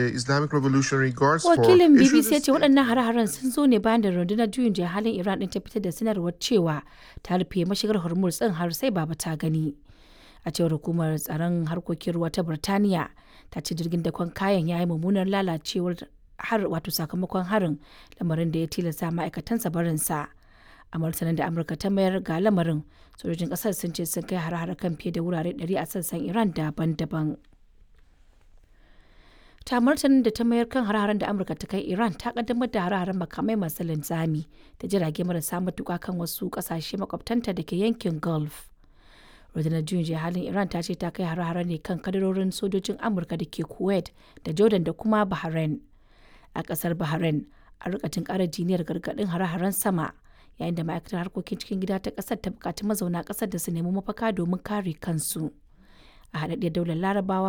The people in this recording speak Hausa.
Islamic Revolutionary Guards Corps Wakilin issued BBC a ya ce waɗannan hare-haren sun zo ne bayan da rundunar juyin juya halin Iran ɗin ta fitar da sanarwar cewa ta rufe mashigar Hormuz ɗin har sai baba ta gani. A cewar hukumar tsaron harkokin ruwa ta Birtaniya, ta ce jirgin dakon kayan ya yi mummunar lalacewar har wato sakamakon harin, lamarin da ya tilasta ma'aikatansa barinsa. A martanin da Amurka ta mayar ga lamarin, sojojin ƙasar sun ce sun kai hare-hare kan fiye da wurare 100 a sassan Iran daban-daban. Ta martanin da ta mayar kan hare-haren da Amurka ta kai Iran, ta kaddamar da hare-haren makamai masu linzami da jirage marasa matuka kan wasu kasashe makwabtanta da ke yankin Gulf. Rundunar juyin juya halin Iran ta ce ta kai hare-hare ne kan kadarorin sojojin Amurka da ke Kuwait da Jordan da kuma Bahrain. A kasar Bahrain, a rika karar jiniyar gargadin hare-haren sama, yayin da ma'aikatar harkokin cikin gida ta kasar ta bukaci mazauna kasar da su nemi mafaka domin kare kansu. A haɗaɗɗiyar daular Larabawa